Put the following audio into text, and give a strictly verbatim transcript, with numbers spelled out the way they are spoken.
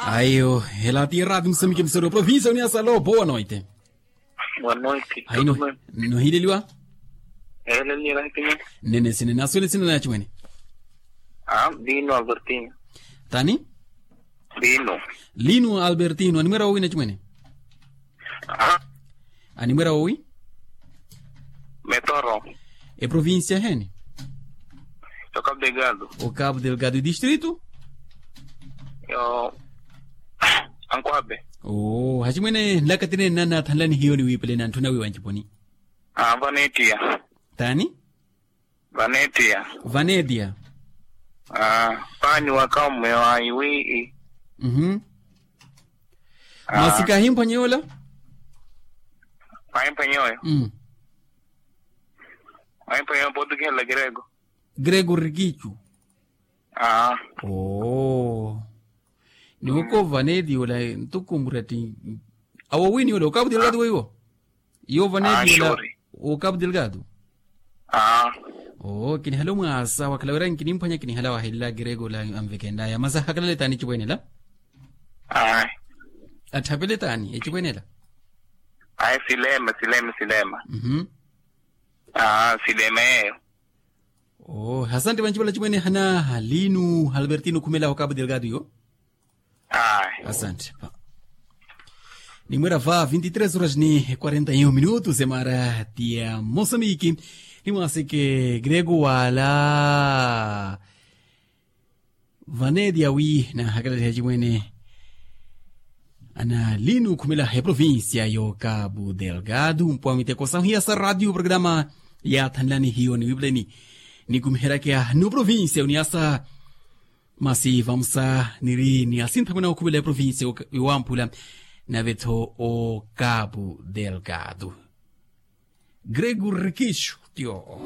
Ayo, ela ti eraati musamiki musoro provincia uniasalo boa noite. Boa noite. Haino. Nohileliwa. Eleliwa. Nene sine naswene sine nachimwene. Ah, vino albertino. Tani? Vino. Lino albertino animwera wawina chimwene. Ah. Animwera wawi? Metoro. Eprovincia heni? Yo cabo delgado. O cabo delgado distrito? Yo ankuabe. O hachimwene nlakatinene nanathanlani hiyo niwipeleni anthu nawiwa nciponi. Ah, vanetia. Tani? Vanetia. Vanetia. Paani waka omme wa iwii. Masi kahimphwanyeyola? Kahimphwanyeyoyo. Kahimphwanyeyoyo potukihela grego. Grego rikichu. Oo. Niwoko vanetia ola ntuku murati. Awo wini ola okapu dilgado weiwo. Iyo vanetia ola. Okapu dilgado. Oo kinihala omwaasa wakhala wira nkinimphwanya kinihala wahelela grego ola anvekennaya masi ahakalale taani ecipwene ela? Atthapele taani ecipwene ela? Ayi silema silema silema. Silema yeeyo. Oo hasante vanci vala cimwene hana halinu halbertino khumela okapu delgado iyo. Asante. Nimwera va vinti tres horas ni quarenta e um minutos emara tia mosamiki. Nimwaseke grego wala vanetia wi nahakalaliha cimwene. Ana lino khumela eprovincia yo cabo delgado mpwa miteko sahiya sa radio programa. Yathanlani hiyo niwipuleni nikumiherakya no provincia uniasa. Masi vamusa niri ni asinthamwene okhuvela eprovincia iwamphula. Nave-tho o cabo delgado. Grego rikisho tio.